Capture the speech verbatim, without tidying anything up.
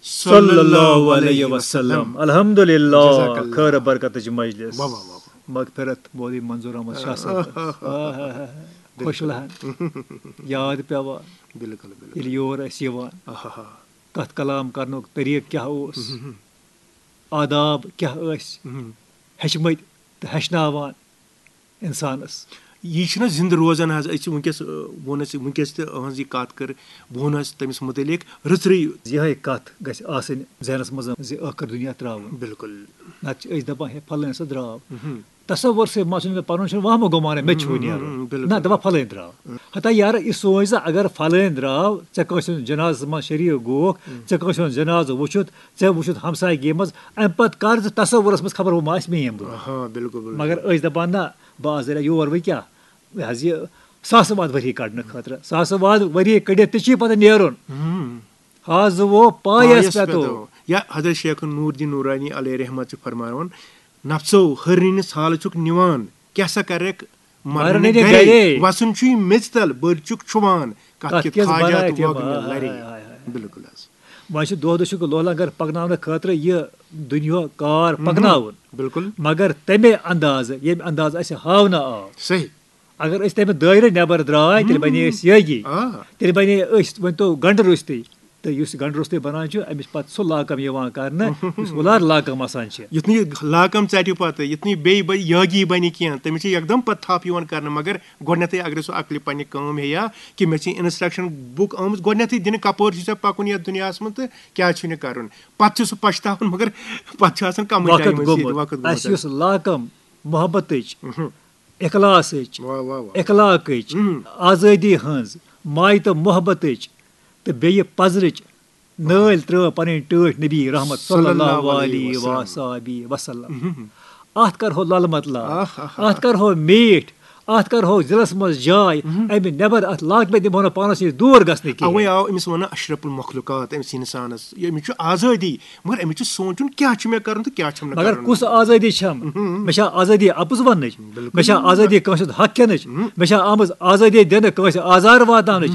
صلی اللہ علیہ وسلم۔ الحمدللہ۔ جزاک اللہ۔ خیر برکتٕچ مجلس۔ واہ، واہ، واہ، واہ۔ مغفرت مولوی منظور احمد شاہ صٲبس۔ آہ، آہ، آہ، آہ۔ خوش لہن۔ یاد پیوان۔ بِلکُل، بِلکُل۔ ییٚلہِ یور ٲسۍ یِوان، آہا۔ کتھ کلام کرنُک طریٖقہٕ کیٛاہ اوس، آداب کیٛاہ ٲسۍ، مہم۔ ہیٚچھمٕتۍ تہٕ ہیٚچھناوان انسانس۔ یہِ چھُنہ زِندٕ روزان حظ۔ أسۍ چھِ وٕنکیٚس، آ، ووٚن اَسہِ وٕنکیٚس تہِ أہٕنٛز یہِ کَتھ کٔر، بہٕ ووٚن حظ تٔمِس مُتعلِق رٕژرٕے۔ یِہے کتھ گژھِ آسٕنۍ ذہنس منٛز زِ ٲخر دُنیا ترٛاوُن۔ بِلکُل۔ نتہٕ چھِ أسۍ دپان، ہے، فلٲنۍ سا درٛاو۔ مہم۔ تصور سۭتۍ ما چھُنہٕ مےٚ پنُن چھُنہٕ وہمہٕ گُمان، مےٚ تہِ چھُ وۄنۍ مہم، نیرُن۔ بِلکُل۔ نہ، دپان فلٲنۍ درٛاو۔ ہتا یارٕ، یہِ سونچ زِ اگر فلٲنۍ درٛاو، ژےٚ کٲنٛسہِ ہُنٛد جنازس منٛز شریٖک گوکھ، ژےٚ کٲنٛسہِ ہُنٛد جنازٕ وُچھُتھ، ژےٚ وُچھُتھ ہمسایگی منٛز، امہِ پتہٕ کر زِ تصورس منٛز خبر ہُہ ما آسہِ میٲنۍ بوے۔ آہا، بِلکُل، بِلکُل۔ مگر أسۍ دپان نہ، بہٕ آسہٕ دٔلیہ یور وۄنۍ کیٛاہ؟ یہِ حظ یہِ ساسہٕ واد ؤری کڑنہٕ خٲطرٕ، ساسہٕ واد ؤری کٔڑِتھ تہِ چھی پتہٕ نیرُن۔ مہم۔ ہاز وو پایس پایس پٮ۪تو۔ پٮ۪تو۔ یا حضرت شیخ نور الدین نورانی علیہ رحمت چھُ فرماوان، نفسو ہرنس حال چھُکھ نِوان، کیٛاہ سا کرکھ مرنہِ مرنہِ گرے۔ گرے۔ وسُن چھُے میٚژِ تل، بٔرۍ چھُکھ چھُوان، کتھ کتھ کِتھ کِس حاجات بنایتھ یِم، وۄگنہِ ہاے، لرے۔ ہاے، ہاے، ہاے۔ بِلکُل حظ۔ وۄنۍ چھُ دۄہ دۄہ چھُکھ لولہ گر پکناونہٕ خٲطرٕ یہِ دُنیا کار پکناوُن۔ بِلکُل۔ مگر تمے اندازٕ، ییٚمہِ اندازٕ اسہِ ہاونہٕ آو، صحیح۔ اگر أسۍ تمہِ دٲیرٕ نٮ۪بر درٛاے، تیٚلہِ بنے أسۍ یٲگی۔ آ۔ تیٚلہِ بنے أسۍ، ؤنۍ تو، گنڈٕ روٚستُے۔ تہٕ یُس یہِ گنڈٕ روٚستُے بنان چھُ، أمِس چھُ پتہٕ سُہ لاکم یِوان کرنہٕ، یُس اُلار لاکم آسان چھِ۔ یُتھ نہٕ یہِ لاکم ژٹہِ پتہٕ، یُتھ نہٕ یہِ بیٚیہِ بہ-، یٲگی بنہِ کینٛہہ، تٔمِس چھِ یکدم پتہٕ تھپھ یِوان کرنہٕ۔ مگر گۄڈٕنیتھٕے اگر سُہ عقلہِ پننہِ کٲم ہیٚیا کہِ مےٚ چھِ instruction book آمٕژ گۄڈٕنیتھٕے دِنہٕ، کپٲرۍ چھُ ژےٚ پکُن یتھ دُنیاہس منٛز تہٕ کیٛاہ چھُنہٕ کرُن، پتہٕ چھُ سُہ پچھتاون، مگر پتہٕ چھُ آسان کمٕے وقت ٹایم أسۍ ییٚتہِ گوٚمُت۔ وقت گوٚمُت اسہِ یُس لاکم محبتٕچ، مہم۔ اخلاصٕچ، واہ، واہ، واہ۔ اخلاقٕچ، مہم۔ آزٲدی ہٕنٛز، ماے تہٕ محبتٕچ تہٕ بیٚیہِ پزرٕچ نٲلۍ ترٲو پنٕنۍ ٹٲٹھۍ نبی رحمت صلی اللہ علیہ وسلم۔ اتھ کرہو لل مطلع، آہ، آہ، آہ۔ اتھ کرہو میٖٹھ، اتھ کرہو دِلس منٛز جاے، امہِ نٮ۪بر اتھ لاکمہِ دِمو نہٕ پانس نِش دوٗر گژھنہٕ کینٛہہ۔ اوے آو أمِس ونان اشرف المخلوقات، أمِس انسانس، یہِ، أمِس چھُ آزٲدی، مگر أمِس چھُ سونٛچُن کیٛاہ چھُ مےٚ کرُن تہٕ کیٛاہ چھُم نہٕ مگر کرُن۔ کُس آزٲدی چھم؟ مےٚ چھا آزٲدی اپُز وننٕچ؟ مےٚ چھا آزٲدی کٲنٛسہِ ہُنٛد حق کھٮ۪نٕچ؟ مےٚ چھا آمٕژ آزٲدی دِنہٕ کٲنٛسہِ آزار واتناونٕچ؟